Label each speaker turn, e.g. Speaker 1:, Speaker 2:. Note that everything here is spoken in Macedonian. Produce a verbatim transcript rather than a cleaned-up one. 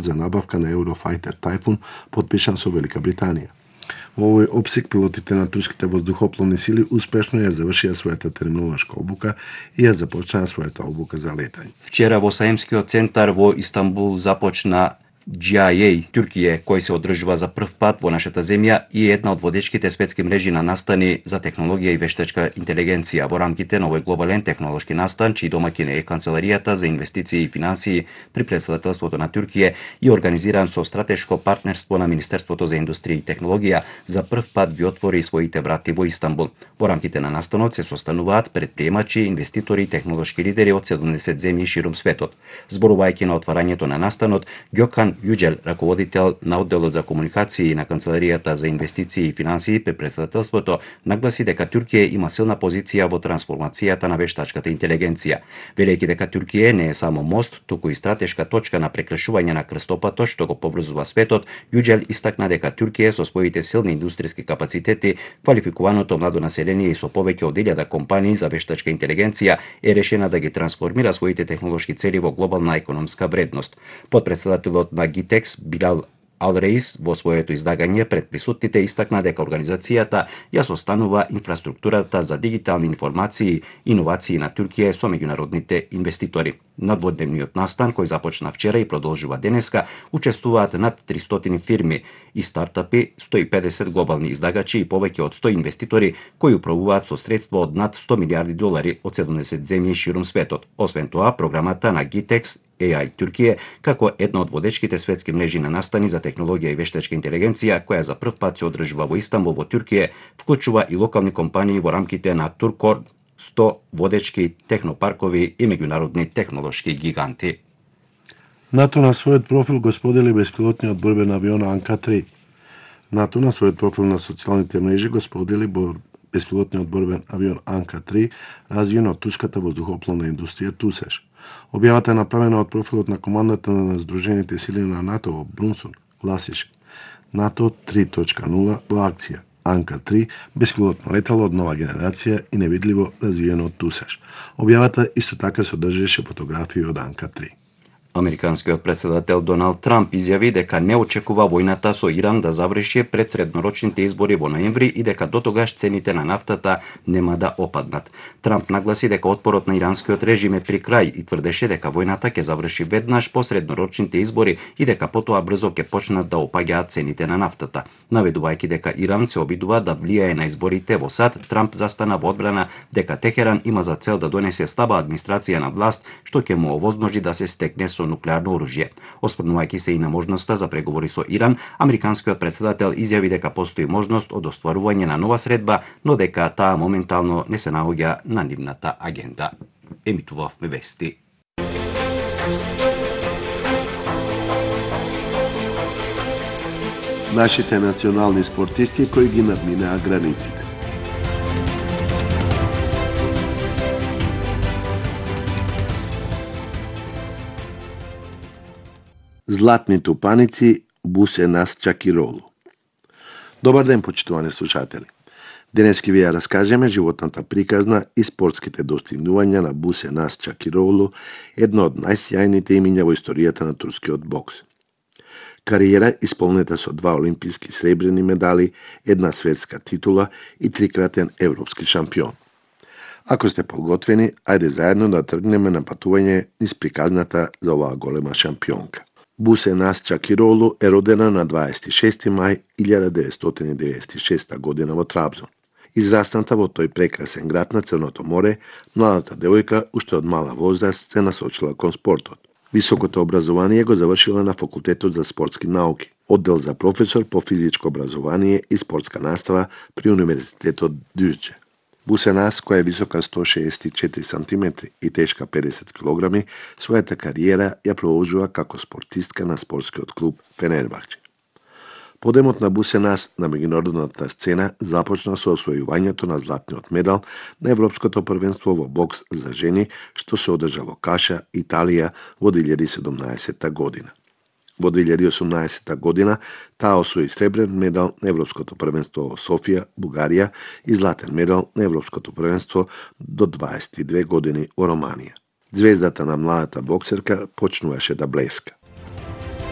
Speaker 1: за набавка на Eurofighter Typhoon потпишан со Велика Британија. Во овој опсек пилотите на турските воздухопловни сили успешно ја завршија својата терминолошка обука и ја започнаа својата обука за летање.
Speaker 2: Вчера во Саимскиот центар во Истанбул започна Джи Ај Еј Туркија, кој се одржува за прв пат во нашата земја и е една од водечките светски мрежи на настани за технологија и вештачка интелигенција во рамките на овој глобален технолошки настан, чиј домаќин е Канцеларијата за инвестиции и финансии при претседателството на Туркија и организиран со стратешко партнерство на Министерството за индустрија и технологија, за прв пат ги отвори своите врати во Истанбул. Во рамките на настанот се состануваат предприемачи, инвеститори и технолошки лидери од седумдесет земји ширум светот. Зборувајќи на отварањето на настанот, Ѓокан Јуџел, раководител на одделот за комуникации на Канцеларијата за инвестиции и финансии при претседателството, нагласи дека Туркија има силна позиција во трансформацијата на вештачката интелигенција. Велејќи дека Туркија не е само мост, туку и стратешка точка на прекршување на крстопатот што го поврзува светот, Јуџел истакна дека Туркија со своите силни индустријски капацитети, квалификуваното младо население и со повеќе од илјада компании за вештачка интелигенција е решена да ги трансформира своите технолошки цели во глобална економска вредност. Подпредседателот на Гитекс Билал Ал-Реис во своето излагање пред присутните истакна дека организацијата ја состанува инфраструктурата за дигитални информации и иновации на Туркија со меѓународните инвеститори. На дводневниот настан, кој започна вчера и продолжува денеска, учествуваат над тристоти фирми и стартапи, сто и педесет глобални издагачи и повеќе од сто инвеститори кои управуваат со средства од над сто милиарди долари од седумдесет земји ширум светот. Освен тоа, програмата на Гитекс Еј Ај Туркија, како една од водечките светски мрежи на настани за технологија и вештачка интелигенција, која за прв пат се одржува во Истанбул во Туркија, вклучува и локални компании во рамките на Туркор, сто водечки технопаркови и меѓународни технолошки гиганти.
Speaker 1: НАТО на својот профил го сподели беспилотниот борбен авион Анка три. НАТО на својот профил на социјалните мрежи го сподели беспилотниот борбен авион Анка три, развиен од турската воздухопловна индустрија ТУСЕШ. Објавата е направена од профилот на командата на Сдружените сили на НАТО во Брунсун, гласише: НАТО три точка нула во акција. Анка три, беспилотно летало од нова генерација и невидливо развиено од ТУСЕШ. Објавата исто така содржеше фотографии од Анка три.
Speaker 2: Американскиот претседател Доналд Трамп изјави дека не очекува војната со Иран да заврши пред среднорочните избори во ноември и дека дотогаш цените на нафтата нема да опаднат. Трамп нагласи дека отпорот на иранскиот режим е при крај и тврдеше дека војната ќе заврши веднаш по среднорочните избори и дека потоа брзо ќе почнат да опаѓаат цените на нафтата. Наведувајќи дека Иран се обидува да влијае на изборите во САД, Трамп застана во одбрана дека Техеран има за цел да донесе стаба администрација на власт, што ќе му овозможи да се стекне со нуклеарно оружје. Осврнувајќи се и на можноста за преговори со Иран, американскиот претседател изјави дека постои можност од остварување на нова средба, но дека таа моментално не се наоѓа на нивната агенда. Емитувавме вести.
Speaker 1: Нашите национални спортисти кои ги надминаа границите. Златни тупаници, Бусенас Чакиролу. Добар ден, почитувани слушатели. Денес ќе ви ја раскажеме животната приказна и спортските достигнувања на Бусенас Чакиролу, едно од најсјајните имиња во историјата на турскиот бокс. Кариера исполнета со два олимписки сребрени медали, една светска титула и трикратен европски шампион. Ако сте подготвени, ајде заедно да тргнеме на патување низ приказната за оваа голема шампионка. Бусенас Чакиролу е родена на дваесет и шести мај илјада деветстотини деветдесет и шеста година во Трабзон. Израсната во тој прекрасен град на Црното море, младата девојка уште од мала возраст се насочила кон спортот. Високото образование го завршила на факултетот за спортски науки, оддел за професор по физичко образование и спортска настава при Универзитетот Дюзџе. Бусенас, која е висока сто шеесет и четири сантиметри и тешка педесет килограми, својата кариера ја продолжува како спортистка на спортскиот клуб Фенербахче. Подемот на Бусенас на меѓународната сцена започна со освојувањето на златниот медал на Европското првенство во бокс за жени, што се одржа во Каша, Италија во две илјади и седумнаесетта година. Во две илјади и осумнаесетта година таа освои сребрен медал на Европското првенство во Софија, Бугарија и златен медал на Европското првенство до дваесет и две години во Романија. Звездата на младата боксерка почнуваше да блеска.